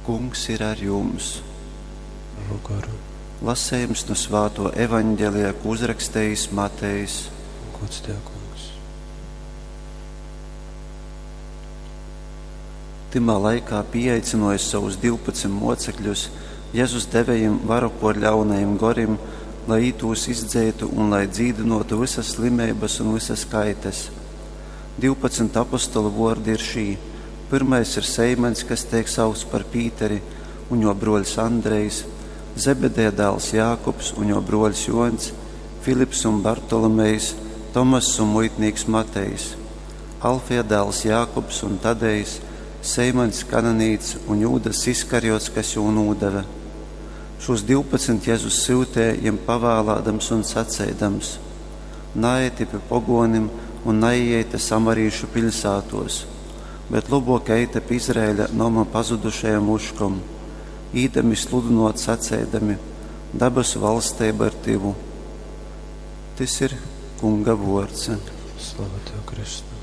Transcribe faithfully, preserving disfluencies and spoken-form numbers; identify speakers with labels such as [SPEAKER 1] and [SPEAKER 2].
[SPEAKER 1] Kungs ir ar jums!
[SPEAKER 2] Tavu goru.
[SPEAKER 1] Lasējums no svāto evaņģelija, ko uzrakstījis Matejs.
[SPEAKER 2] Gods Tev, Kungs.
[SPEAKER 1] Tymā laikā pieaicinojis savus divpadsmit mocekļus, Jēzus deve jim varu por ļaunajim gorim, lai ītūs izdzeitu un lai dzīdinotu visas slimības un visas kaites. Divpadsmit apostolu vordi ir šī. Pirmais ir Seimans, kas tiek saukts par Pīteri, un jo broļs Andrejs, Zebedeja dēls Jākubs un jo broļs Jons, Filips un Bartolomejs, Tomass un muitnīks Matejs, Alfija dēls Jākubs un Tadejs, Seimans Kananīts un Jūdas Iskariots, kas jū nūdeve. Šos divpadsmit Jēzus syutēja jiem pavēlādams un sacēdams: Naeiti pie pogonim un naiejte samarīšu piļsātos, bet lobok eite pie Izraēļa noma pazudušajam uškom, īdami sludinot sacēdami: Dabasu valstība ir tivu. Tis ir Kunga vords.
[SPEAKER 2] Slava Tev, Kristu!